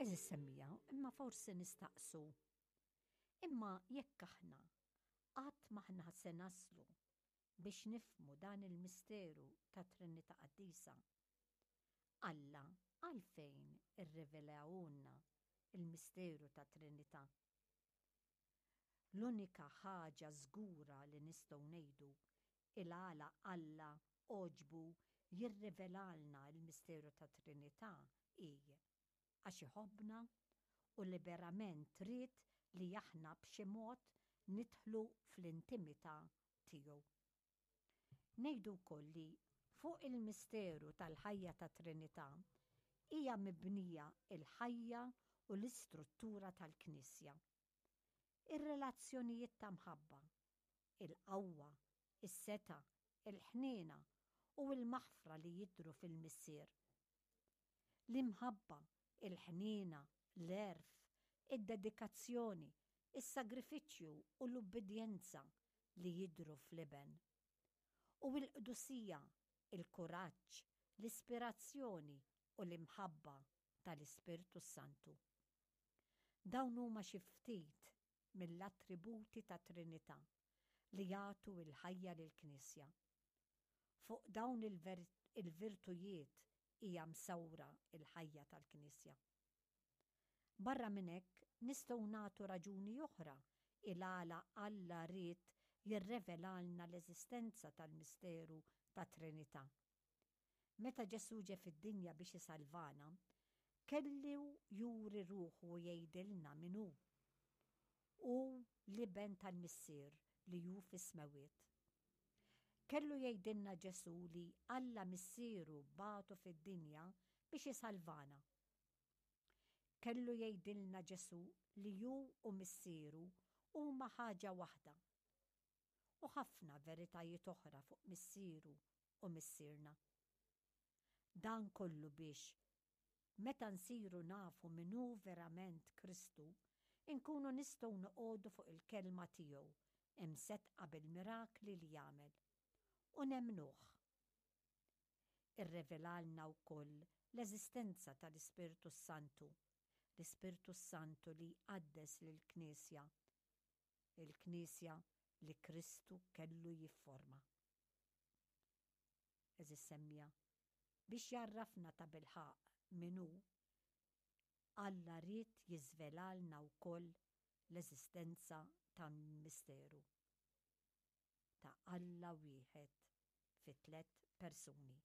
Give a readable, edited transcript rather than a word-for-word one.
Għeżież semmiegħa, imma forsi nistaqsu, imma jekk aħna qatt m'aħna se naslu biex nifhmu dan il-misteru tat-Trinità Qaddisa, Alla għalfejn irrivelahulna l-misteru tat-Trinità? L-unika ħaġa żgura li nistgħu ngħidu il-għala Alla għoġbu jirrivelalna l-misteru tat-Trinità hi għax iħobbna u liberament ried li aħna b'xi mod nidħlu fl-intimità tiegħu. Ngħidu wkoll li fuq il-misteru tal-ħajja tat-Trinità hija mibnija l-ħajja u l-istruttura tal-Knisja. Ir-relazzjonijiet ta' mħabba, il-qawwa, is-setgħa, il-ħniena u l-maħfra li jidhru fil-Missier. L-imħabba, il-ħniena, l-għerf, id-dedikazzjoni, is-sagrifiċċju u l-ubbidjenza li jidhru fl-Iben. U l-qdusija, il-kuraġġ, l-ispirazzjoni u l-imħabba tal-Ispirtu s-Santu. Dawn huma xi ftit mill-attributi tat-Trinità li jagħtu l-ħajja lill-Knisja. Fuq dawn il-virtujiet hija msawra l-ħajja tal-Knisja. Barra minn hekk, nistgħu nagħtu raġuni oħra il-għala Alla ried jirrevelalna l-eżistenza tal-misteru tat-Trinità. Meta Ġesù ġie fid-dinja biex isalvana, kellu juri ruħu u jgħidilna min hu. Hu l-Iben tal-Missier li hu fis-smewwiet. Kellu jgħidilna Ġesù li Alla Missieru bagħtu fid-dinja biex isalvana. Kellu jgħidilna Ġesù li hu u Missieru huma ħaġa waħda. U ħafna veritajiet oħra fuq Missieru u Missierna. Dan kollu biex, meta nsiru nafu min hu verament Kristu, inkunu nistgħu noqogħdu fuq il-kelma tiegħu imseddqa bil-mirakli li jagħmel, u nemmnuh. Irrevelalna wkoll l-eżistenza tal-Ispirtu s-Santu, l-Ispirtu s-Santu li jqaddes lill-Knisja, il-Knisja li Kristu kellu jifforma. Għeżież semmiegħa, biex jgħarrafna tabilħaqq min hu, Alla ried jiżvelalna wkoll l-eżistenza tal-misteru ta' Alla wieħed fi tlett persuni.